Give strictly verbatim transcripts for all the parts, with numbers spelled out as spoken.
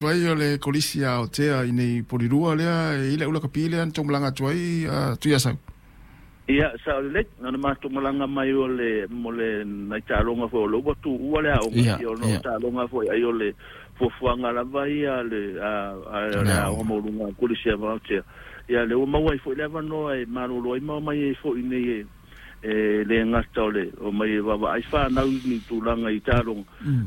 Vai o le kolisi a Aotea i nei Polilua lea e i le ula kapi lea na tou malaga atu ai Tuiasau. Ia, sao lelei, na ona matou malaga mai o le mo le nai taaloga foi o le ua tuua le aoga, ia ona o taaloga foi ai o le fuafuaga lava ia le le aoga maualuga a Kolisi a Aotea. Ia le ua maua ai foi le avanoa e malolo ai ma omai ai foi nei e le gata o le o mai e vaavaai fanau ni tulaga i taaloga.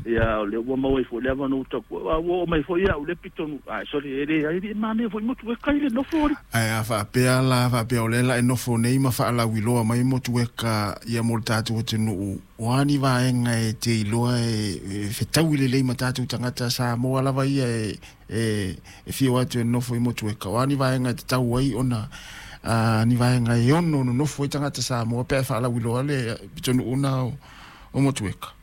Ia o le ua maua ai foi le avanoa taku a ua oo mai foi au le pitonu ai sole e le ai le manaia foi Motueka i le nofo ali. Ae a faapea la faapea o lea la e nofo nei ma faalauiloa mai Motueka ia mo le tatou atunuu, o a ni vaega e te iloa e fetaui lelei ma tatou tagata Samoa lava ia e e e fia o atu e nofo i Motueka, o a ni vaega e tatau ai ona a ni vaega e ono nonofo ai tagata Samoa pe a faalauiloa le pitonuu na o, o Motueka.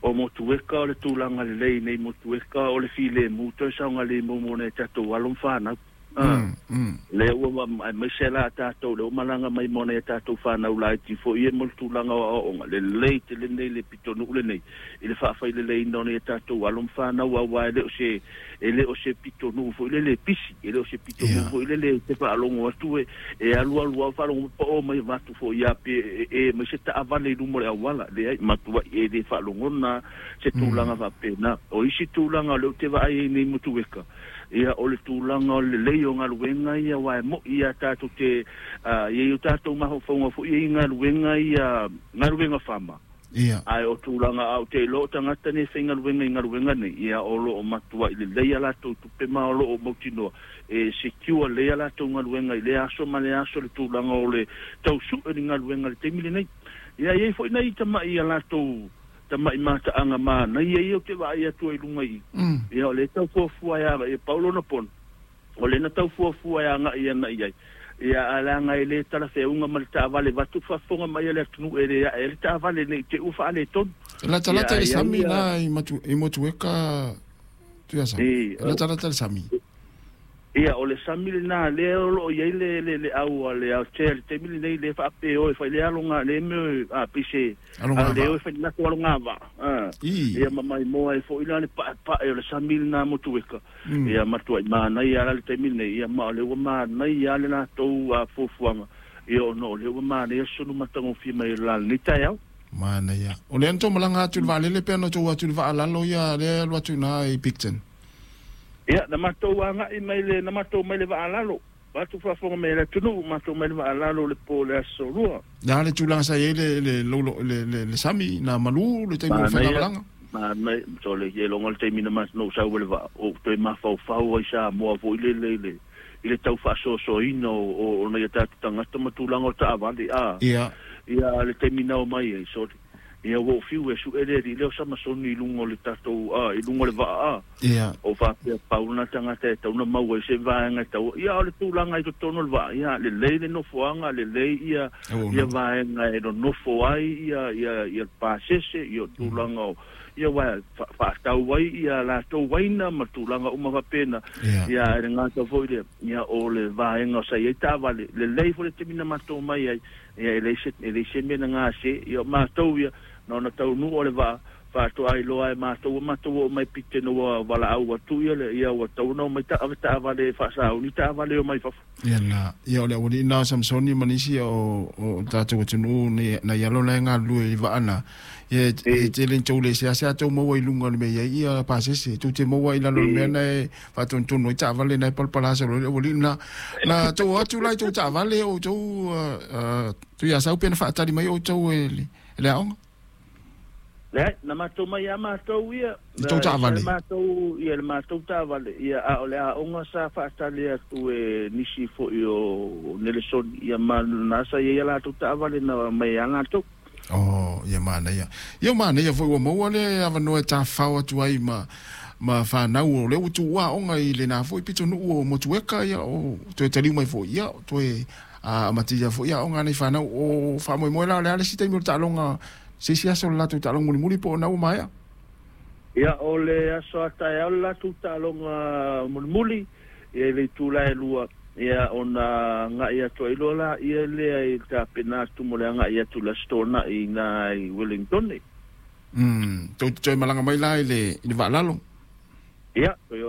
O Motueka o le tulaga lelei nei Motueka o le filemu toe saogalemu mo nai tatou alo ma fanau. Mm, mm. Le ua aemaise la tatou le ua malaga mai mo nai tatou fanau laiti foi ia mo le tulaga o aoaoga lelei tele nei le pitonuu lenei i le faafaileleina o nai tatou alo ma fanau aua e le o se e le o se pitonuu foi lele pisi e le o se pitonuu foi lele te faalogo atu e e alu alu au faalogo pa o mai vatu foi ia pe e mai se taavale i luma o le auala leai matuai e le faalogona se tulaga faapena. O isi tulaga o lea ou te vaai ai nei Motueka ia o le tulaga o le lelei o galuega ia aua e mo'i ia tatou te ia i o tatou mafaufauga foi ia i galuega ia galuega fama. Ia. Ae o tulaga a ou te iloa o tagata nei e faigaluega i galuega nei ia o loo matuai lelei a latou tupe ma o loo mautinoa e secure lelei a latou galuega i lea aso ma lea aso le tulaga o le tausu'e ni galuega i le taimi lenei. Ia e i ai foi nai tama'i a latou tama'i mataaga manaia ia ou te vaai atu ai i luga i i. Ia o lea e tau fuafua e agai e pau lona pono o lea na tau fuafua e agai ana i ai. Ia ae leaga e le talafeauga ma le taavale vaeatu le faafofoga mai a le atunuu e le ae ai le taavale nei te i ua faaletonu. E latalata i le sami na i Matu, i Motueka Tuiasau. E latalata i le sami. Ia o le sami lenā lea o loo i ai le le le au a le Aotea i le taimi lenei lea faapea o e fai le aloga le mea a pei se a le o e fai le latou alogavaa a ia ma maimoa ai foi la le paepae o le sami lenā Motueka. Ia matuai manaia la le taimi lenei ia ma o lea ua manaia le latou fuafuaga ia ona o lea ua manaia sulu matagofie mai o le la lenei taeao. Manaia. O lea na tou malaga atu i le vaalele pe na tou atu i le vaalalo ia lea e alu atu i ina i Picton. Ia, na matou agai mai le, na matou mai le vaalalo, vaeatu faafofoga mai a le atunuu, matou mai le vaalalo le po o le aso lua. Le a le tulaga sa i ai le, le, le, le, le sami, na malu le taimi o le faigamalaga? Manaia, sole, ia iloga le taimi na na ou sau ai le vaa, ou toe mafaufau ai Samoa foi lele i le, i le tau faasoasoaina o, o, o nai o tatou tagata ma tulaga o taavale, a. Ia. Ia, le taimi na omai ai, sole. Ia ua ou fiu e su'e le alii lea o Samasoni i luga o le tatou, a, i luga o le vaa, a. Ia. O faapea pau lena tagata e tatau ona maua ai se vaega e tatau, ia o le tulaga i totonu o le vaa, ia lelei le nofoaga, lelei ia, ia vaega e nonofo ai ia, ia, ia le pasese, ia o tulaga o, ia aua e faatau ai ia latou uaina ma tulaga uma faapena. Ia. Ia ae le gata foi lea, ia o le vaega sa i ai taavale, lelei foi le taimi na matou mai ai, ia e leai se, e leai se mea na gase, ia o matou ia, na ona taunuu o le vaa, faatoa iloa e matou, ua matou oo mai Picton ua valaau atu ia le, ia ua tatau ona omai ave taavale e faasauni taavale e omai fafo. Ia na, ia o le aualii na o Samsoni ma nisi o, o tatou atunuu nei, nai alo la e galulue i vaa na, ia e tele ni tou le seasea tou maua i luga o le mea i ai ia pasese, tou te maua i lalo o le mea na e faatonutonu ai taavale na e palapala solo ai le aualii na. Na tou o atu la i tou taavale o outou uh, Tuiasau pe na faatali mai outou e le, e le aoga? Leai, na matou mai lava matou ia, I tou na ese taavale? le matou, ia le matou taavale, ia a o le aoga sa faatali atu e nisi foi o Nelesoni, ia ma na sa i ai a latou taavale na mai ai lava latou. Oh, ia manaia. Ia manaia foi ua maua le avanoa e tafafao atu ai ma ma fanau o lea ua tuua aoga i lenā foi pitonuu o Motueka, ia o toe taliu mai foi, ia toe amatia foi aoga a nei fanau. O faamoemoe la o le a le isi taimi o le taaloga, se isi aso o le latou taaloga mulimuli po o na ua maea? Ia o le aso a taeao le latou taaloga mulimuli, ia i le itula e lua, ia ona agai atu ai loa laia lea i le tapena atu mo le agai atu i le Aso Toonai i ina i Wellington. Mm, tou te toe malaga mai la i le, i le vaalalo? Ia toe.